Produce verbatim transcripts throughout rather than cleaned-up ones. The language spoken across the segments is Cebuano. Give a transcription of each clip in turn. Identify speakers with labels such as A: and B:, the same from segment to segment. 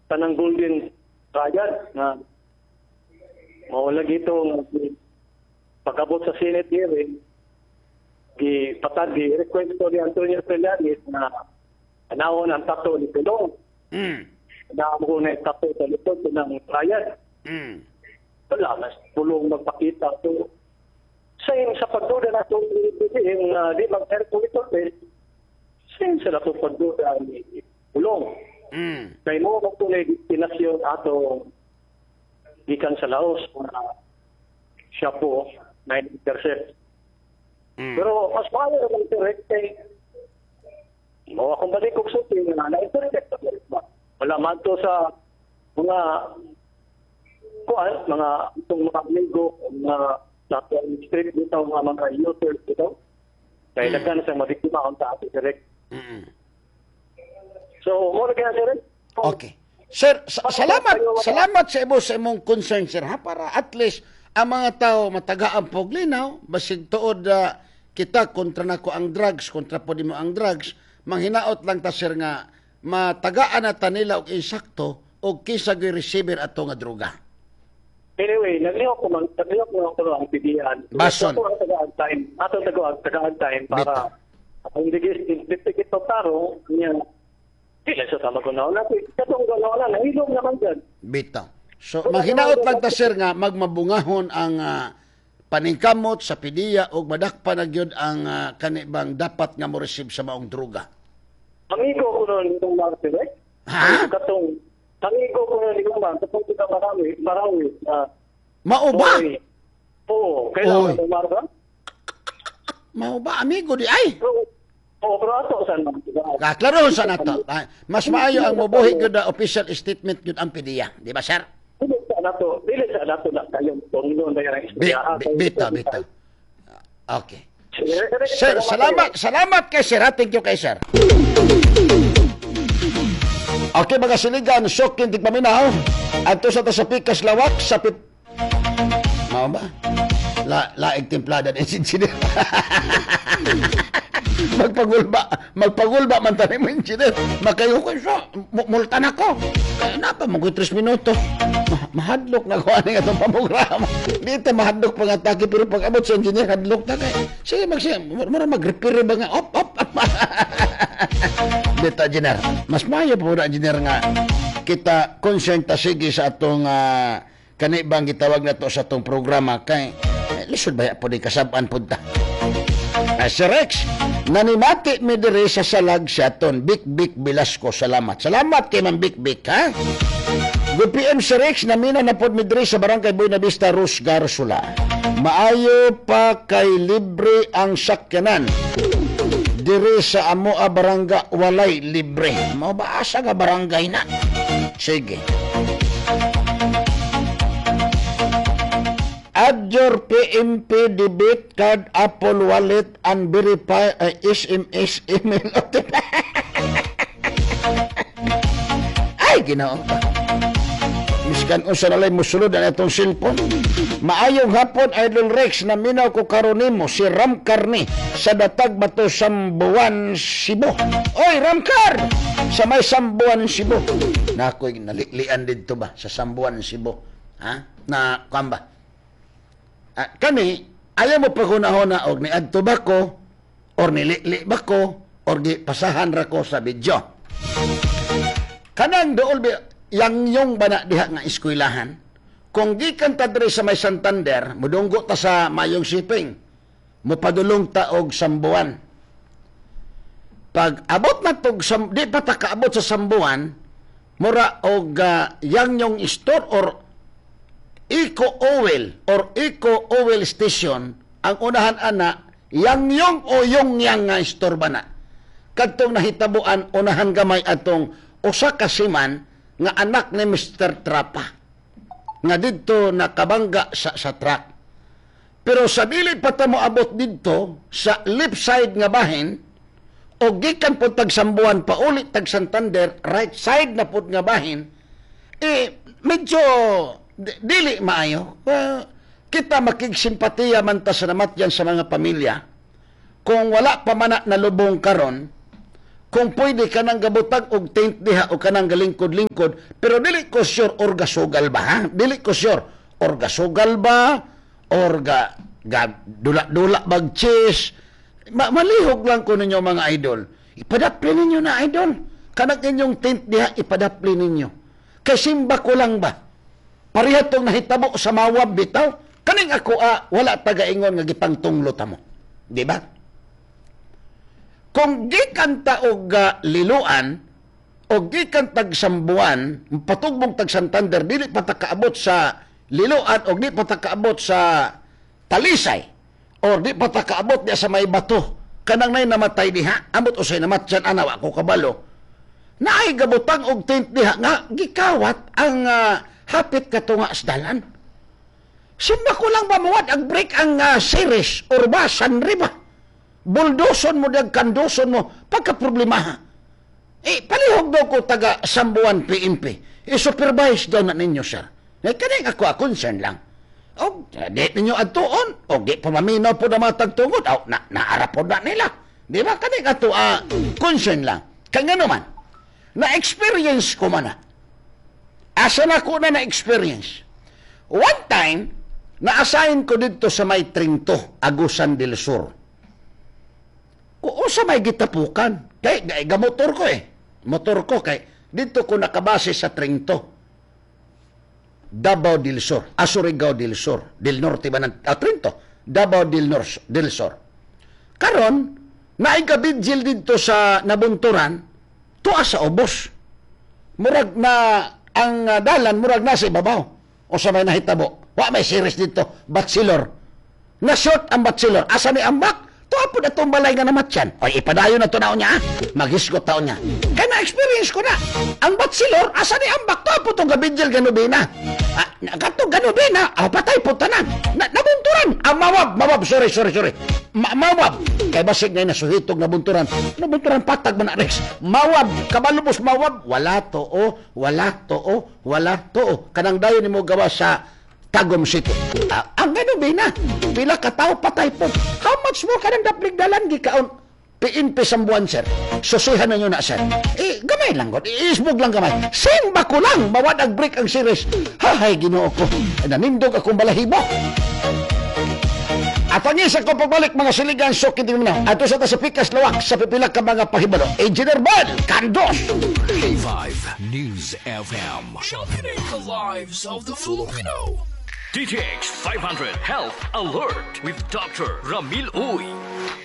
A: Kanang Golden Triad nga mao lagi ito nga pag-abot sa Senate hearing, gi patad gi request ko ni Antonio Trillanes na anawon ang tattoo ni Pulong.
B: Mm.
A: Na mo na tattoo sa likod ng triad.
B: Mm.
A: Wala na Pulong magpakita. So, same sa pagduda na itong yung uh, di mag-air test, same sa nato pagduda ni Pulong.
B: Mm.
A: Kay mo kung tunay destinasyon ato gikan sa Laos na siya po na intercept.
B: Mm.
A: Pero mas maayo naman direct kay mo akong balik kog sulti nga na-intercept ba. Wala man to sa mga kuan, mga itong mga amigo, mga sa street dito, mga mga users dito. Kaya mm. daghan sa mabiktima ang sa ato direct.
B: Mm.
A: So, mo na kaya sir.
B: Okay. Sir, sa- salamat salamat sa imo sa imong concern, sir, ha, para at least ang mga tao matagaan pog linaw basig tuod uh, kita kontra nako ang drugs, kontra po nimo ang drugs, manghinaot lang ta, sir, nga matagaan na ta nila og insakto og kinsa gyud receiver ato nga droga.
A: Anyway, naglihok ko man, naglihok mo ko ang P D I.
B: Bason.
A: Ato ang tagaan time, ato tagaan tagaan time para ang digis investigate to tarong niya. Dili sa tama ko na natin. Katong ganaw na nahilom naman dyan.
B: Bitaw. So manghinaot lang ta, sir, nga magmabungahon ang uh, paningkamot sa P D I A og madakpan na gyud ang uh, kanibang dapat nga mo receive sa maong droga.
A: Amigo ko noon itong Martin, eh?
B: Ha?
A: Katong amigo ko noon itong Martin, katong kita marami, marami. Uh,
B: Mao ba?
A: Oo, kailangan
B: Oy.
A: mo Marta?
B: Mao ba, amigo di ay?
A: Pero, oo, pero ato saan man.
B: Ah, klaro sa nato. Ah, mas maayo ang mobuhi gyud na official statement gyud ang P D I A, di ba, sir?
A: Dili sa nato, dili sa nato na kayong tungnon na yung
B: Bi,
A: istorya.
B: bi, bitaw, bitaw. Okay. Sir, salamat, salamat kay sir. Ha? Thank you kay sir. Okay, mga siligan, sok kintig paminaw. Adto sa ta sa Pikas Lawak, sa pip... Mao ba? La, laig timplada din engineer. Magpagulba, magpagulba man tayo mo, engineer. Makayo ko siya, multa na ko. Kaya na pa, mag tres minuto. Ma mahadlok na ko ani atong pamograma. Dito mahadlok pang atake, pero pag abot sa engineer, hadlok na kay. Sige, mag sige, mura mag-repair ba nga, op, op. Dito, engineer. Mas maayo po na, engineer, nga kita concern ta sige sa atong uh, kanibang gitawag na to sa atong programa kay eh, lisod ba po di kasab-an pud ta. Uh, Sir Rex, nanimati mi diri sa Salag Siaton. Bik Bik Velasco, salamat. Salamat kay Ma'am Bik Bik, ha? Good P M, Sir Rex, namina na pod mi diri sa Barangay Buena Vista, Rus Garsula. Maayo pa kay libre ang sakyanan. Diri sa amoa barangay walay libre. Mao ba, asa nga barangay na? Sige. Add your P M P debit card, Apple Wallet, and verify uh, S M S, email, O T P. Ay, Ginoo ka. Miskan unsa na lay musulod ang itong cellphone. Maayong hapon, Idol Rex, naminaw ko karon nimo si Ram Carni sa Datag Bato, Sambuan, Cebu. Oy, Ramcar! Sa may Sambuan, Cebu. Nakoy naliklian didto ba sa Sambuan, Cebu? Ha? Na kuan ba? Ah, kani ayaw mo paghunahuna og niadto ba ko or nilikli ba ko or gi pasahan ra ko sa video. Kanang dool bi yang yung bana diha nga eskwelahan, kung gikan ta diri sa may Santander, mudunggo ta sa Mayong Shipping, mopadulong ta og Sambuan. Pag abot na tog sam, di pa ta kaabot sa Sambuan, mura og uh, yang yung store or Eco Oil or Eco Oil Station ang unahan ana, yang yung o yung yang nga store ba na kadtong nahitabuan unahan gamay atong usa ka seaman nga anak ni Mister Trapa nga didto nakabangga sa sa truck. Pero sa dili pa ta moabot didto sa left side nga bahin o gikan po tag Sambuan pauli tag Santander, right side na pud nga bahin, eh medyo di- dili maayo. Well, kita makigsimpatiya man ta sa namatyan sa mga pamilya. Kung wala pa man na nalubong karon, Kung pwede ka nang gabutag og tent diha o kanang galingkod-lingkod, pero dili ko sure or gasugal ba, ha? Dili ko sure or gasugal ba or ga, ga dula-dula bag chess. Ma malihog lang ko ninyo, mga idol. Ipadapli ninyo na, idol. Kanang inyong tent diha, ipadapli ninyo. Kay simba ko lang ba? Pareha tong nahitabo sa Mawab bitaw. Kaning ako ah, wala tagaingon nga gipangtunglo ta mo. Di ba? Kung gikan ta og uh, Liloan o gikan tag Sambuan, patugbong tag Santander, dili pa ta kaabot sa Liloan o di pa ta kaabot sa Talisay or di pa ta kaabot diya sa may bato. Kanang nay namatay diha, amot usay namatyan ana, wa ko kabalo. Naay gabutang og tent diha nga gikawat ang uh, hapit katunga sa dalan. Simba ko lang ba muwad ang break ang uh, series or ba sanri ba? Buldoson mo dag kandoson mo pagka problema. Eh, palihog daw ko taga Sambuan P N P. I-supervise daw na ninyo, sir. Eh, kaning ako a concern lang. O, di ninyo adtuon. O, di pa maminaw po na matagtungod. O, na, naara po na nila. Di ba? Kaning ato a concern lang. Kaya nga naman, na-experience ko man na. Asa na ko na na-experience? One time, na-assign ko dito sa may Trinto, Agusan del Sur. Kung sa may gitapukan. Kay, kay gamotor ko eh. Motor ko kay dito ko nakabase sa Trinto. Davao del Sur, Surigao del Sur, del Norte ba ng ah, Trinto, Davao del Nor del Sur. Karon, naay gabidjil dito sa Nabunturan, tuwa sa ubos. Murag na ang uh, dalan murag nasa ibabaw. O sa may nahitabo. Wa may series dito, bachelor. Na short ang bachelor. Asa ni ambak? Tuwa po na itong balay nga namatyan. O ipadayon na to na niya. Ah. Maghisgot taon niya. Kaya na-experience ko na. Ang bachelor, asa ni ambak? Tuwa po itong gabidjil ganubina. Ah, katong ganubina, ah, patay po tanan. Na, nabunturan. Ah, Mawab, Mawab, sorry, sorry, sorry. Ma mawab. Kay basig nga nasuhitog nabunturan. Nabunturan patag man na Rex. Mawab, kabalubos Mawab. Wala to, oh, wala to, oh, wala to, oh. Kanang dayon nimo gawa sa Tagum City. Ah, ang ganubina, pila ka tao patay po. How much more kanang daplig dalan gikaon? P N P Sambuan, sir. Susihan na nyo na, sir. Eh, gamay lang, god. Iisbog lang gamay. Simba ko lang. Mawad ang break ang series. Hahay, Ginoo ko. Nanindog akong balahibo. At ang isa ko pagbalik, mga siligan, so mo na. Ato sa ta sa Pikas Lawak sa pipila ka mga pahibalo. Engineer Bal, Kandos!
C: K five News F M. Championing the lives of the Filipino. D T X five hundred Health Alert with Doctor Ramil Uy.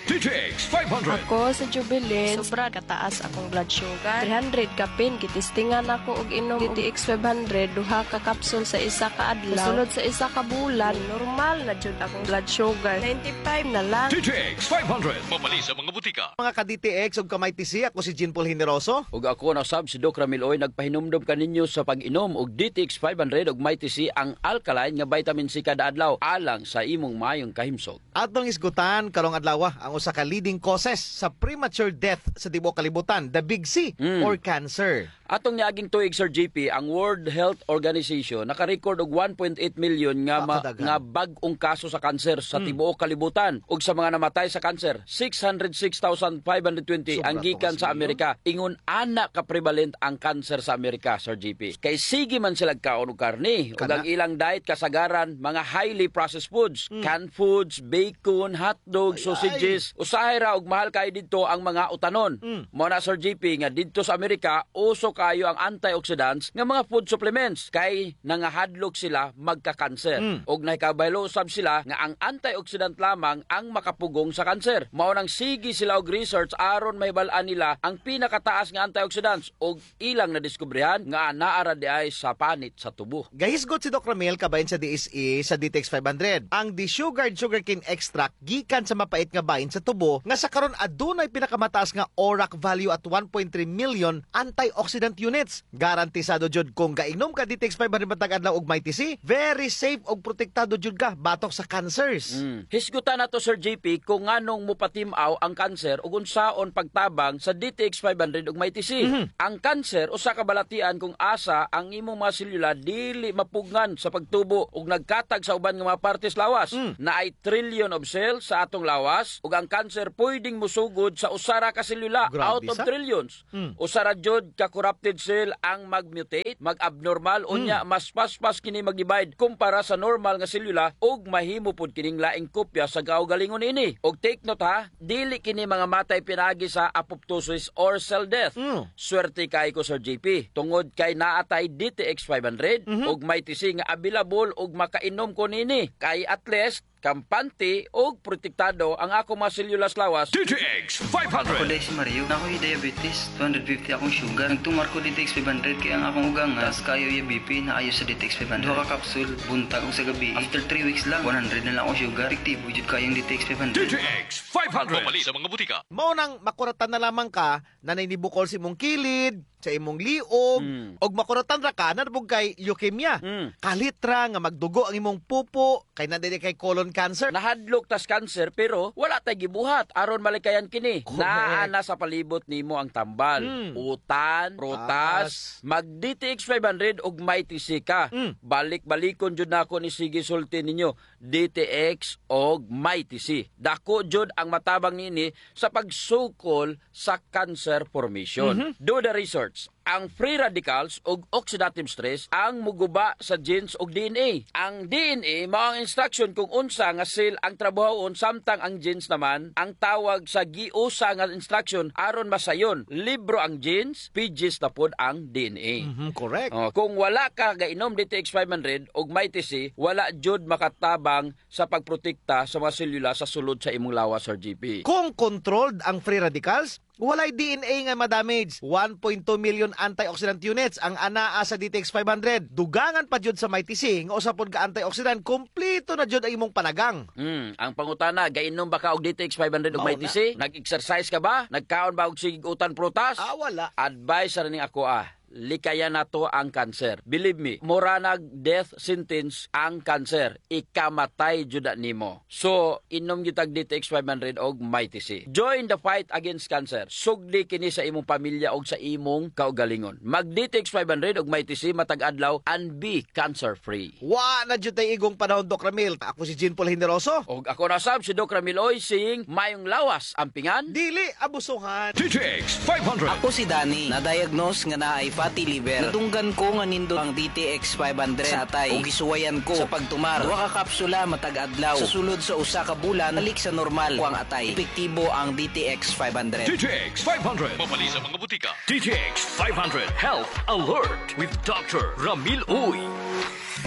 C: D T X five hundred.
D: Ako sa Jubilin, sobra kataas akong blood sugar. three hundred kapin, gitistingan ako og inom D T X five hundred, duha ka kapsul sa isa ka adlaw. Sulod sa isa ka bulan, normal na jud akong blood sugar. ninety-five na lang.
C: D T X five hundred. Mabali sa mga butika.
E: Mga ka-D T X ug ka-Mighty C, ako si Jean Paul Generoso.
F: Ug ako na sab si Doc Ramil Oy, nagpahinumdom kaninyo sa pag-inom og D T X five hundred ug Mighty C, ang alkaline nga vitamin C kada adlaw alang sa imong maayong kahimsog.
E: Atong isgutan karong adlaw ang usa ka leading causes sa premature death sa tibuok kalibutan, the big C
F: Mm.
E: or cancer.
F: Atong niaging tuig, Sir J P, ang World Health Organization naka-record og one point eight million nga ma-
E: Pakadagan.
F: nga bag-ong kaso sa kanser sa tibuok kalibutan ug sa mga namatay sa kanser, six hundred six thousand five hundred twenty
E: Sobra
F: ang gikan
E: to
F: sa
E: kasi.
F: Amerika. Ingon ana ka prevalent ang kanser sa Amerika, Sir J P. Kay sige man sila kaon og karne ug
E: Kana.
F: ang ilang diet kasagaran mga highly processed foods, canned foods, bacon, hotdog,
E: Ay,
F: sausages. Usahay ra og mahal kayo didto ang mga utanon.
E: Mm.
F: Mao na, Sir J P, nga didto sa Amerika uso kayo ang antioxidants nga mga food supplements kay nangahadlok sila magka-cancer.
E: Mm.
F: Og nahikabaylo usab sila nga ang antioxidant lamang ang makapugong sa kanser. Mao nang sige sila og research aron mahibal-an nila ang pinakataas nga antioxidants og ilang nadiskubrehan nga naa ra diay sa panit sa tubo.
E: Gahisgot si Doc Ramil kabahin sa D S E sa D T X five hundred. Ang desugared sugarcane extract gikan sa mapait nga bahin sa tubo nga sa karon adunay pinakamataas nga O R A C value at one point three million antioxidant units. Garantisado jud kung gainom ka D T X five hundred matag adlaw og Mighty C, very safe og protektado jud ka batok sa cancers.
F: Mm. Hisgutan nato, Sir J P, kung nganong mupatimaw ang kanser ug unsaon pagtabang sa D T X five hundred ug Mighty C. Ang kanser usa ka balatian kung asa ang imong mga selula dili mapugngan sa pagtubo ug nagkatag sa uban nga mga partes lawas. Naay trillion of cells sa atong lawas ug ang ang cancer pwedeng musugod sa usara ka selula
E: Grabe
F: out of
E: sa.
F: trillions.
E: Mm.
F: Usara jud ka corrupted cell ang magmutate, mag-abnormal, unya mas paspas kini mag-divide kumpara sa normal nga selula ug mahimo pud kining laing kopya sa kaugalingon ini. Og take note ha, dili kini mga matay pinaagi sa apoptosis or cell death.
E: Mm.
F: Swerte kay ko, Sir J P, tungod kay naatay D T X five hundred ug may T C nga available ug makainom ko nini. Kay at least kampante ug protektado ang ako mga selyulas lawas.
C: D T X
G: Ako
C: five hundred.
G: diay si Mario. Naa ko'y diabetes, two hundred fifty akong sugar. Nagtumar ko D T X five hundred kay ang akong ugang taas kayo yung B P na ayo sa D T X five hundred. Duha ka capsule, buntag ug sa gabi. After three weeks lang, one hundred na lang akong sugar. Epektibo jud kayong D T X five hundred.
C: D T X five hundred. Pamalit sa mga butika.
E: Mao nang makuratan na lamang ka na nainibukol sa imong kilid, sa imong liog,
F: Mm.
E: og makuratan ra ka na kay leukemia.
F: Mm.
E: Kalitra nga magdugo ang imong pupo kay naa diay kay colon cancer.
F: Nahadlok tas cancer pero wala tay gibuhat aron malikayan kini.
E: Correct.
F: Naa na sa palibot nimo ang tambal.
E: Mm.
F: Utan, prutas, mag D T X five hundred ug may T C ka.
E: Mm.
F: Balik-balikon jud nako ni sige sulti ninyo D T X og may T C. Dako jud ang matabang nini sa pagsukol sa cancer formation.
E: Mm-hmm.
F: Do the research. Ang free radicals ug oxidative stress ang muguba sa genes ug D N A. Ang D N A mao ang instruction kung unsa nga cell ang trabahoon, samtang ang genes naman ang tawag sa giusa nga instruction aron masayon. Libro ang genes, pages na pod ang D N A.
E: Mhm, correct.
F: Oh, kung wala ka gainom D T X five hundred ug may T C, wala jud makatabang sa pagprotekta sa mga selula sa sulod sa imong lawas, Sir G P.
E: Kung controlled ang free radicals, walay D N A nga madamage. one point two million antioxidant units ang anaa sa D T X five hundred. Dugangan pa jud sa Mighty C nga usa pod ka antioxidant, kompleto na jud ang imong panagang.
F: Mm, ang pangutana, gainom ba ka og D T X five hundred ug
E: Mao
F: may T C? Nag-exercise ka ba? Nagkaon ba og sigig utan prutas?
E: Ah, wala.
F: Advice ra ning ako ah. Likayan nato ang cancer. Believe me, mura nag death sentence ang cancer. Ikamatay jud na nimo. So, inom gyud tag D T X five hundred og Mighty C. Join the fight against cancer. Sugdi kini sa imong pamilya og sa imong kaugalingon. Mag D T X five hundred og Mighty C matag adlaw and be cancer free.
E: Wa na jud tay igong panahon, Doc Ramil. Ako si Jean Paul Generoso.
F: Og ako na sab si Doc Ramil Oy saying mayong lawas ampingan.
E: Dili abusuhan.
C: D T X five hundred.
H: Ako si Danny, na-diagnose nga naay fatty liver. Nadunggan ko nga nindot ang D T X five hundred sa atay ug gisuwayan ko sa pagtumar. Duha ka kapsula matag adlaw. Sa sulod sa usa ka bulan, balik sa normal ko ang atay. Epektibo ang D T X five hundred.
C: D T X five hundred. Mabali sa mga butika. D T X five hundred Health Alert with Doctor Ramil Uy.